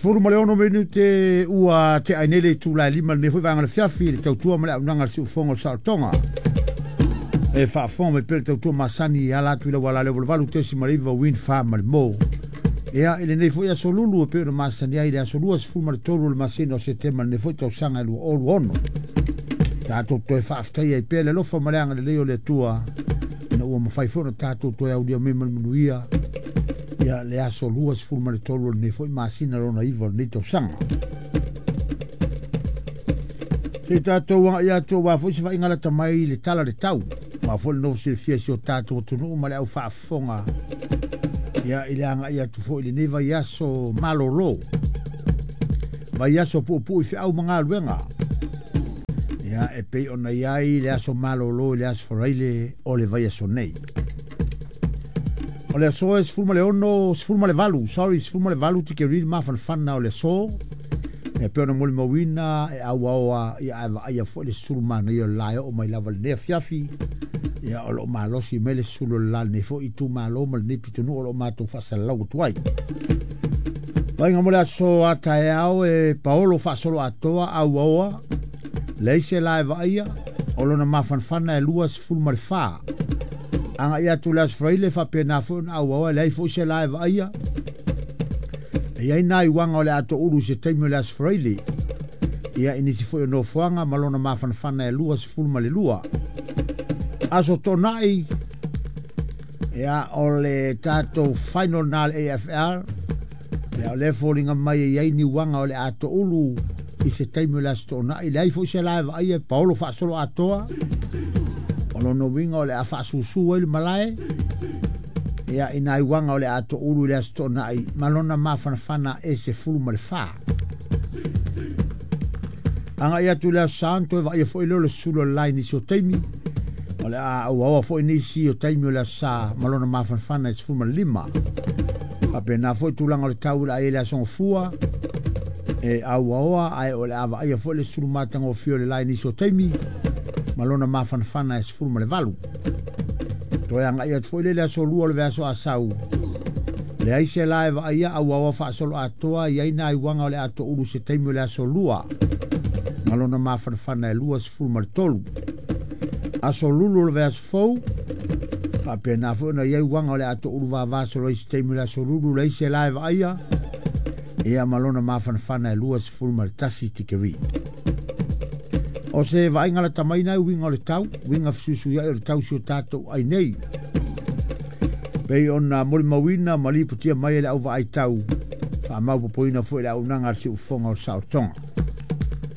16 minute ua te ai nei le itula e 5 lenei foi vaega o le afiafi i le tautua ma le auaunaga a le siufofoga o le saolotoga. E faafofoga mai pea le tautua masani e ala atu i le auala lea 88.9 Wind Farm ma le Mo. Ia, i lenei foi aso lulu e pei ona masani ai i le aso 23 o le masina o Setema lenei foi tausaga e 2026. Tatou toe faafetai ai pea le alofa ma le agalelei o le Atua ina ua mafai foi ona tatou toe aulia mai ma le manuia ia le aso 23 o lenei foi masina lona 9 o lenei tausaga. Se i tatou agai atu aua foi se vaaiga lata mai i le tala le tau. Aua foi le nofo silafia i si o tatou atunuu ma le au faafofoga ia i le agai atu foi i lenei vaiaso malolo. Vaiaso puupuu i feau ma galuega. Ia e pei ona i ai le aso malolo i le aso Faraile o le vaiaso nei. O le aso e 16, 18, sorry, 18 tikeri le mafanafana o le aso. E pei ona molimauina e auaoa ia ae vaaia foi le sulu manaia o le la e oo mai lava i lenei afiafi. Ia o lo o malosi mai le sulu o le la lenei foi itumalo ma lenei pitonuu o lo o matou faasalalau atu ai. Vaaiga mo le aso a taeao e paolo faasolo atoa auaoa leai se la e vaaia o lona mafanafana e 24. Agai atu le aso Faraile faapena foi ona auaoa e leai foi se la e vaaia. E i ai nai uaga o le atoulu i se taimi o le aso Faraile. Ia i nisi foi o nofoaga ma lona mafanafana e 22. Aso Toonai, ia o le tatou final na le AFL. Ia o le foliga mai e i ai ni uaga o le atoulu i se taimi o le aso Toonai. Leai foi se la e vaaia e paolo faasolo atoa. O lona uiga o le a faasusu ai le malae. Ia i nai uaga o le atoulu i le aso Toonai ma lona mafanafana e 14. Agai atu i le aso Sa ona toe vaaia foi lea o le sulu o le la i nisi o taimi. O le a auaoa foi nisi o taimi o le aso Sa ma lona mafanafana e 15. Faapena foi tulaga o le tau i le a i ai le aso Gafua e auaoa ae o le a vaaia foi le sulu matagofie o le la i nisi o taimi ma lona mafanafana e 18. Toe agai atu foi le aso 2 o le vaiaso Asau. Leai se la e vaaia auaoa faasolo atoa i ai nai uaga o le atoulu se taimi o le aso 2 ma lona mafanafana e 23. Aso lulu o le vaiaso fou faapena foi ona i ai uaga o le atoulu vavasolo ai se taimi o le aso lulu leai se la e vaaia ia ma lona mafanafana e 21 tikeri. O se vaaiga lata mai nai uiga o le tau, uiga fesuisuiai o le tau si o tatou ai nei. Pei ona molimauina ma lipotia mai e le au vaai tau, faamaupopoina foi le auaunaga a le siufofoga o le saolotoga.